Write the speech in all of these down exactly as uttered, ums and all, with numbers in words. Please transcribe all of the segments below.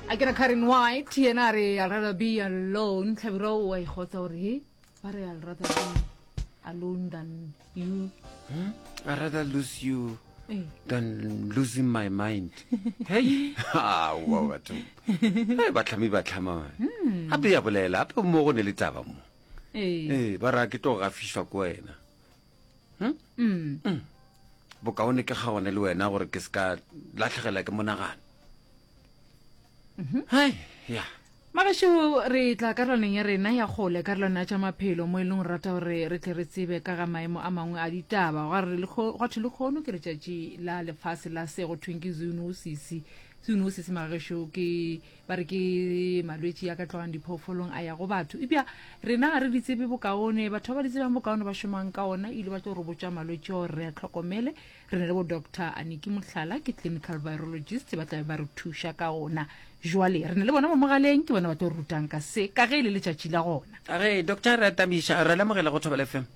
A ke re Karen White yena a re I'd rather be alone. Hlabirwa o a ikgotsa gore he ba re I'd rather be alone than you. Hmm? I'd rather lose you Ee. than losing my mind. Hei, aowa batho. Hei, batlhami ba tlhama. Gape ya bolela, gape mo go ne le taba mo. Ee. Ee, ba ra ke tlo gafišwa ke wena. Hmm? Mm. Mm. Bokaone ke kgaogane le wena gore ke se ka lahlegela ke monagano. Hai, ya. Magešo, re tla karolwaneng ya rena ya kgole, karolwana ya tša maphelo, mo e leng gore rata gore re tle re tsebe ka ga maemo a mangwe a ditaba. Gwa re lekgo, gwa thwe lekgono ke letšatši la lefase la se go thweng ke zoonosis. Zoonosis, magešo, ke ba re ke malwetši a ka tlogang diphoofolong a ya go batho. Eupša rena ga re di tsebe bokaone, batho ba ba di tsebang bokaone ba šomang ka ona ile ba tlo re botša malwetši ao re a hlokomele. Re na le bo Doctor Aniki Mohlala, ke clinical virologist, ba tla be ba re thuša ka ona. Jwale re na le bona mo mogaleng, ke bona ba tlo re rutang ka se, ka ge e le letšatši la gona. A re, Doctor, re a tamiša, re lemogela go Thobela F M.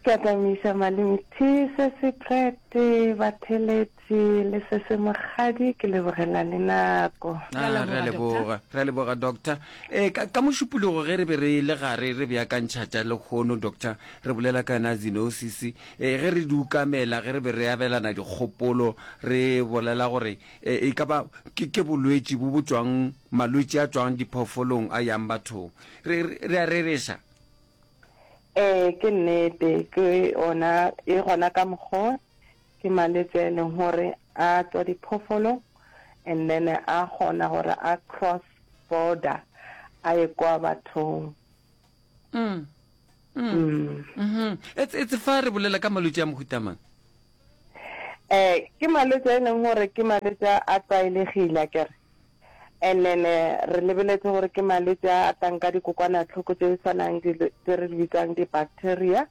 Ke a tamiša, Malome T, se se Prete, batheletši le se se Mokgadi, ke lebogela le nako. Ah, Re a re a leboga, leboga, re a leboga, Doctor. E, ka, ka Mošupologo ge re be re le gare re beakantšha tša lekgono, Doctor, re bolela ka yona zoonosis. E, ge re di ukamela, ge re be re abelana dikgopolo, re bolela gore, e, e ka ba ke, ke bolwetši bo bo tšwang, malwetši a tšwang diphoofolong a yang bathong. Re, re, re a rereša. Ee, ke nnete, ke ona, e gona ka mokgwa, ke malwetši a e leng gore a tswa diphoofolong and then a kgona gore a cross border a ye kwa bathong. Mm. Mm. Mm. Mm-hmm. Etse, etse fa re bolela ka malwetši a mohuta mang? Eh, ke malwetši a e leng gore ke malwetši a a tlwaelegile, akere. And then, eh, re lebeletse gore ke malwetši a a tlang ka dikokwanahloko tše tshwanang dilo tše re di bitsang di-bacteria.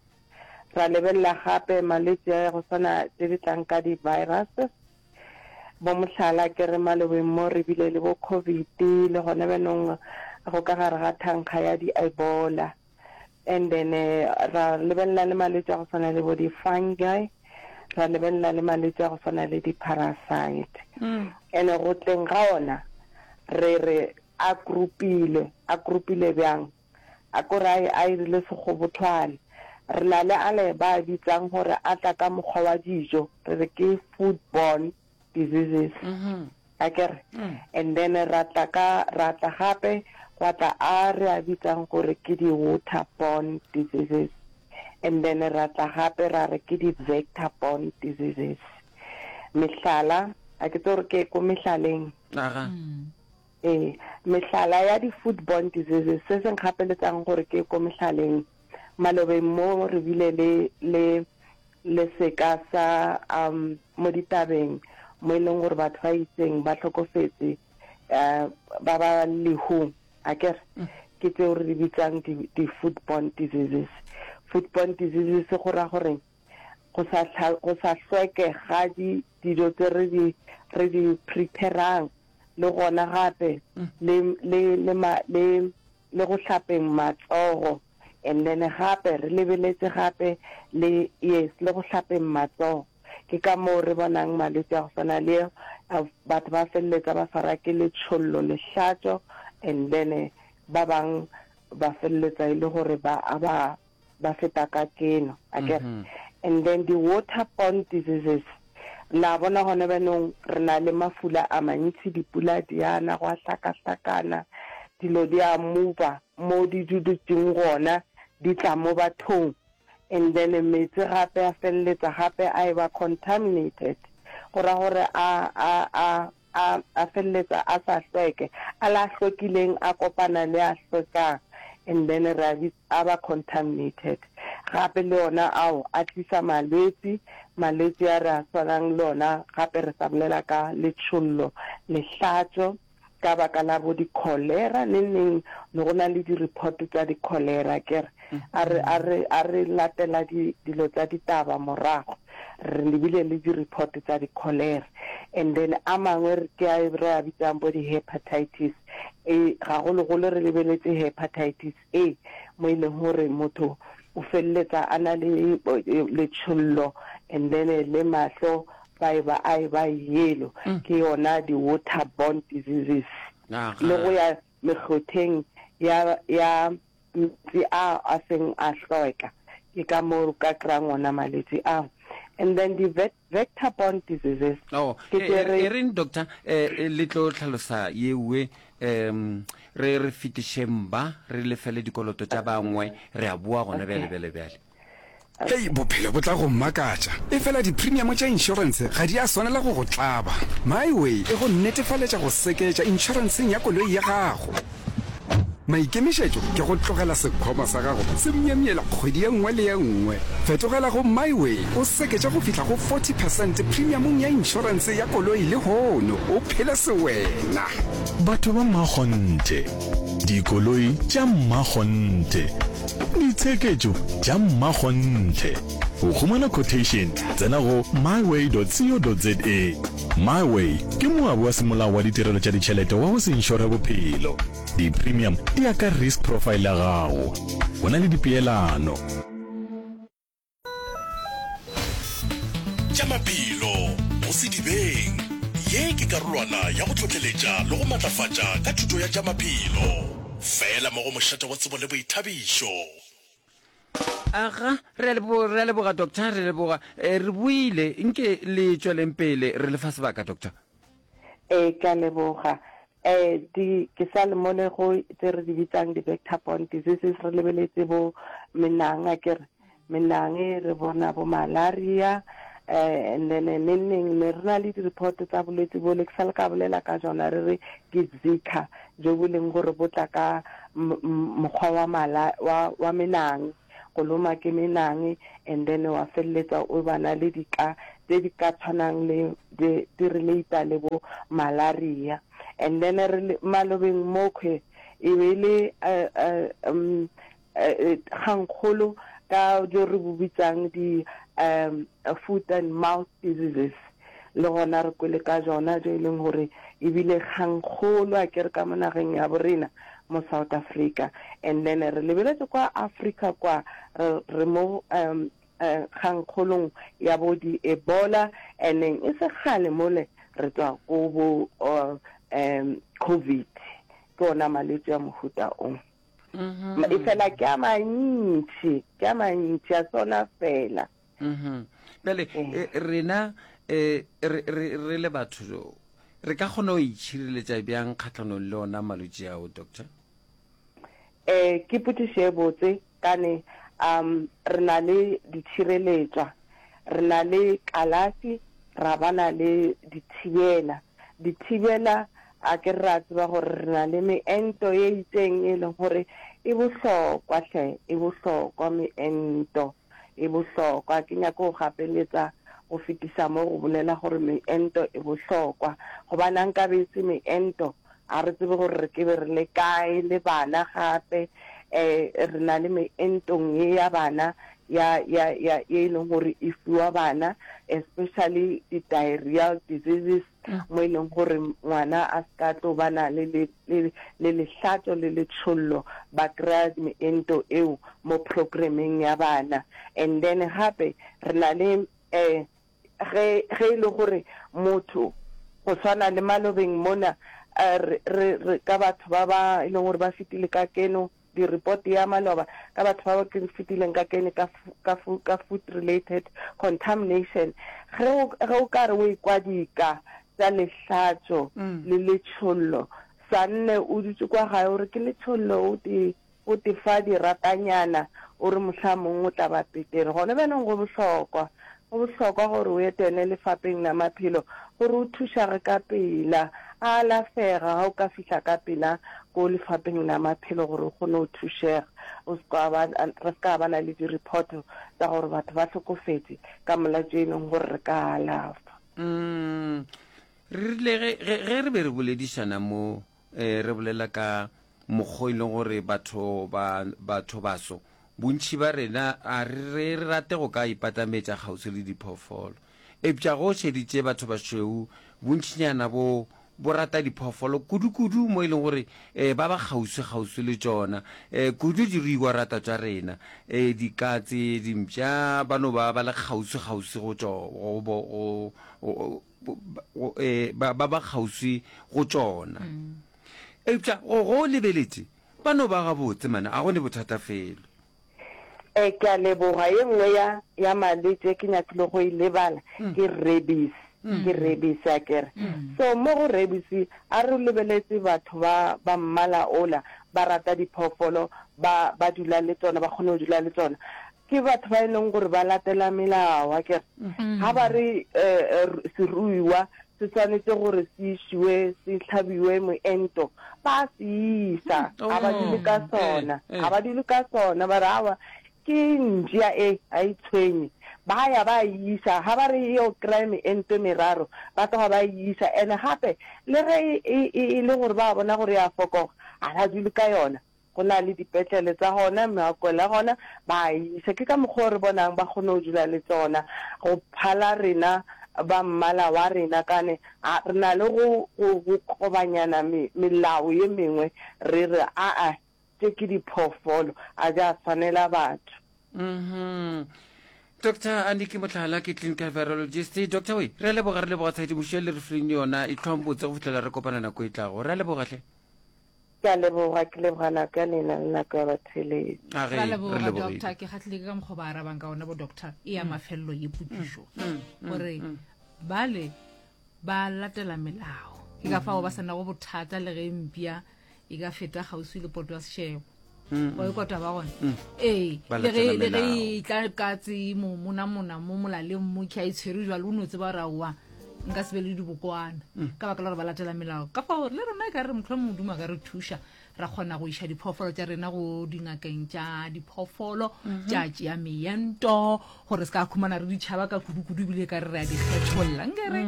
Ra lebelela gape malwetši a go swana tše di tlang ka di-viruses. Bo mohlala ke re malobeng mo re bile le bo COVID, le gona bjanong go ka gare ga thankga ya di-Ebola. And then, eh, ra lebelela le malwetši a go swana le bo di-fungi, ra lebelela le malwetši a go swana le di-parasite. Mm. And go tleng ga ona, re re a grupile, a grupile bjang? A ko re a, a irile sekgobothwane. Re na le ale ba bitsang gore a tla ka mokgwa wa dijo, re re ke foodborne diseases. Mm-hmm. Akere? Mm. And then ra tla ka, ra tla gape gwa tla a re a bitsang gore ke di-waterborne diseases. And then ra tla gape ra re ke di-vector-borne diseases. Mehlala, a ke tsebe gore ke ko mehlaleng. Aga. Mm. Ee, mehlala ya di-foodborne diseases, se se nkgapeletsang gore ke ko mehlaleng. Malobeng mo re bile le, le, le seka sa, um, mo ditabeng, mo e leng gore batho ba itseng ba hlokofetse, eh, ba ba lehung, akere? Mm. Ke tseo re di bitsang di, di-foodborne diseases. Foodborne diseases go ra gore go sa hla-, go sa hlweke ga di, dijo tse re di, re di preparang, le gona gape, Mm. le, le, le ma-, le, le go hlapeng matsogo. And then gape re lebeletse gape le, yes, le go hlapeng matsogo. Ke ka moo re bonang malwetši a go swana le, a, batho ba feleletsa ba swara ke letšhollo, lehlatšo, and then ba bang ba feleletsa e le gore ba, a ba, ba feta ka keno, akere. Mm-hmm. And then di-waterborne diseases, la bona gona bjanong re na le mafula a mantši, dipula di ana, go a hlakahlakana, dilo di a mova mo di dutšeng gona, di tla mo bathong. And then metsi gape a feleletsa gape a e ba contaminated, go ra gore a, a, a, a, a feleletsa a sa hlweke, a la hlwekileng a kopana le a hlwekang, and then re a bitsa a ba contaminated. Gape le ona ao a tlisa malwetši, malwetši a re a swanang le ona gape re sa bolela ka letšhollo, lehlatšo, ka baka la bo di-cholera, neng neng ne go na le di-report tša di-cholera, ke re. A re, a re, a re latela di, dilo tša ditaba morago, re lebile le di-report tša di-cholera. And then a mangwe re ke a re a bitsang bo di-hepatitis. E, gagologolo re lebeletse hepatitis A, mo e leng gore motho o feleletsa a na le, e, letšhollo, and then le mahlo ba e ba, a e ba yellow. Mm. Ke yona di-waterborne diseases. Le go ya mekgotheng ya, ya meetse a a seng a hlweka. Ke ka moo o ka kry-ang ona malwetši ao. And then di vector borne diseases. Oh, Ke tše re. E reng doctor, eh, le tlo hlalosa yewe, um re re fetišeng ba, re lefele dikoloto tša bangwe, re a boa gona bjale, bjale, bjale. Hei, bophelo bo tla go makatša. Efela dipremiamo tša inšorense ga di a swanela go go tlaba. MiWay e go netefaletša go seketša inšorenseng ya koloi ya gago. Maikemišetšo ke go tlogela sekhwama sa gago se myemyela kgwedi ye nngwe le ye nngwe. Fetogela go MiWay o seketše go fihla go forty percent premiamong ya inšorense ya koloi lehono o phele sewena. Batho ba mmakgonthe, dikoloi tša mmakgonthe, ditsheketšo tša mmakgonthe. Go humana quotation, tsena go myway dot co dot za. MiWay ke moabi wa semolao wa ditirelo tša ditšhelete wa go se inšore bophelo. Di-premium di ya ka risk profile ya gago. Go na le dipeelano. Tša maphelo go sedibeng. Ye ke karolwana ya go hlohleletša le go matlafatša ka thuto ya tša maphelo. Fela mo go mošate wa tsebo le boithabišo. Aga, re a leboga, re a leboga doctor, re leboga. Eh, re buile, nke le tšweleng pele, re le fa sebaka doctor. Ee, ke a leboga. Eh, di, ke sa le mole go tse re di bitsang di vector borne diseases, re lebeletse bo menang, akere, menang re bona bo malaria, eh, and then neng neng ne re na le di-report tsa bolwetsi bole, ke sa le ka bolela ka jona, re re ke Zika, jo bo leng gore bo tla ka m-, m-, mokgwa wa mala, wa, wa menang, go loma ke menang, and then wa feleletsa o ba na le dika tse di ka tshwanang le di, di relata le bo malaria. And then re le malobeng mokhwe e be le, eh, eh, um, eh, kgangkgolo ka jo re bo bitsang di, um, foot and mouth diseases. Le gona re kwele ka jona jo e leng gore ebile kgangkgolo a ke re ka mo nageng ya borena mo South Africa. And then re lebeletse kwa Africa kwa re, re mo, um, eh, kgangkgolong ya bo di Ebola, and then e se kgale mole re tswa ko bo, uh, um, COVID. Ke ona malwetse a mohuta o. Mm-hmm. E fela ke a mantši, ke a mantši, a sona fela. Mm-hmm. Bjale, Eh. eh, rena, eh, re, re, re le batho, re ka kgona go itšhireletša bjang kgahlanong le ona malwetši ao, doctor? Eh, ke potšišo e botse, kane, um, re na le ditšhireletšwa, re na le kalafi, ra ba na le dithibela. Dithibela, a ke re ra tseba gore re na le meento ye itseng e leng gore e bohlokwa hle, e bohlokwa meento, e bohlokwa. Ke nyaka go gapeletsa go fetisa mo go bolela gore meento e bohlokwa, gobane a nkabe e se meento, a re tsebe gore re ke be re le kae le bana gape. Eh, re na le meentong ye ya bana ya, ya, ya, ye e leng gore e fiwa bana, especially di-diarrheal diseases, mo e leng gore ngwana a se ka tlo ba na le, le, le, le lehlatšo le letšhollo, ba kry-a meento eo mo programmeng ya bana. And then gape re na le, eh, ge, ge e le gore motho go swana le malobeng mona, eh, re, re, re ka batho ba ba e leng gore ba fetile ka keno, di-report ya maloba ka batho ba ba ke fetileng ka kene ka fu-, ka fu-, ka food related contamination. Ge o, ge o ka re o ekwa dika tša lehlatšo Mm. le letšhollo, sa nne o dutše kwa gae o re ke letšhollo, o te, o te fa diratanyana, o re mohlamong o tla ba petere. Gone bjanong go bohlokwa, go bohlokwa gore o etele lefapeng la maphelo gore o thušage ka pela, a alafega ga o ka fihla ka pela ko lefapeng la maphelo gore o kgone go thušega. O se ka ba, re se ka ba na le di-report tsa gore batho ba hlokofetse ka molatšo e leng gore re ka alafa. Mm, re rile ge, ge, ge re be re boledišana mo, eh, re bolela ka mokgwa e leng gore batho ba, batho baso, bontši ba rena a re, re rate go ka ipatametša kgauswi le diphoofolo. Eupša go šeditše batho bašweu, bontšinyana bo, bo rata diphoofolo kudu-kudu mo e leng gore, eh, ba ba kgauswi kgauswi le tšona. Eh, kudu diruiwa rata tša rena, eh, dikatse, dimpša, ba no ba ba le kgauswi kgauswi go tšo-, go bo-, go, go, go, go, eh, ba, ba ba kgauswi go tšona. Mm. Eupša go go lebeletše ba no ba gabotse mana, a go ne bothata felo. E, ke a leboga. Ye nngwe ya, ya malwetši e ke nyakile go e lebala ke rabies. Ke rabies, a ke re. So mo go rabies, a re lebeletse batho ba, ba mmala ola, ba rata diphoofolo, ba, ba dula le tsona, ba kgone go dula le tsona. Ke batho ba e leng gore ba latela melao, a ke re. Ga ba re, eh, seruiwa se swanetše gore se išiwe, se hlabiwe moento, ba a se isa. Ga ba dule ka sona. Ga ba dule ka sona, ba re, Aowa, ke mpša e, ga e tshwenye. Ba ya ba e iša. Ga ba re e yo kry-a meento e meraro, ba tloga ba e iša. And-e gape, le ge e, e, e le gore ba bona gore e a fokoga, ga ba dule ka yona. Go na le dipetlele tsa gona, meakwelo ya gona, ba a iša. Ke ka mokgwa o re bonang ba kgone go dula le tsona, go phala rena ba mmala wa rena, kane a re na le go, go, go kobanyana me, melao ye mengwe, re re, Aa, tše ke diphoofolo, a di a swanela batho. Mm-hmm. Doctor Aniki Mohlala ke clinical virologist. Doctor we, re a leboga, re leboga tshedimošo e le re fileng yona. Itlhwang botse go fihlela re kopana nako e tlago. Re a leboga hle. Ke a leboga, ke leboga nako ya lena le nako ya batheeletši. A ge, Ra re leboga lebogile. doctor, ke kgahlile ke ka mokgwa ba arabang ka ona bo doctor e ya mafelelo ye potšišo gore bale ba latela melao ke ka fao ba sa nago bothata le ge mpša e ka feta kgauswi le poto ya sešebo wa e kwa taba gona ee Ba le ge latela le ge melao. e tla katse mo monamona mo molaleng mo kha e tshwere jwalo o no tseba gore aowa nka se be le dibokwana ka baka la gore ba latela melao. Ka fao le rena e ka re mohlomong Modimo a ka re thuša ra kgona go iša diphoofolo tša rena go dingakeng tša diphoofolo tša tšea meento gore se ka khumana re di tšhaba ka kudu-kudu ebile ka re re a di kgetholla nke re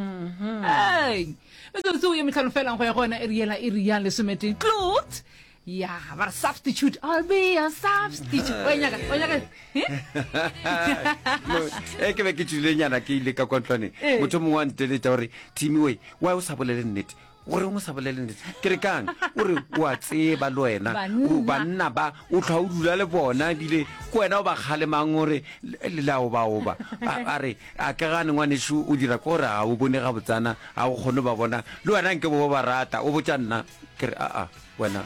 ei metsotso ye mehlano felang go ya go yona iri yela iri ya lesometee clot ya ba re substitute I'll be a substitute wa nyaka wa nyaka e ke be ke tšwile nyana ke ile ka kwa ntlwaneng Ee. motho mongwe wa nteletša gore Timmy we why o sa bolele nnete goreng o sa bolele nnete ke re kang o re o a tseba le wena Banna. o banna ba o tlhwa o dula le bona ebile ke wena o ba kgalemang gore le la obaoba a a re a ke gane ngwanešu o dira ke gore ga o bone gabotsana ga o kgone ba bona le wena nke bo ba rata o botša nna ke re aa wena.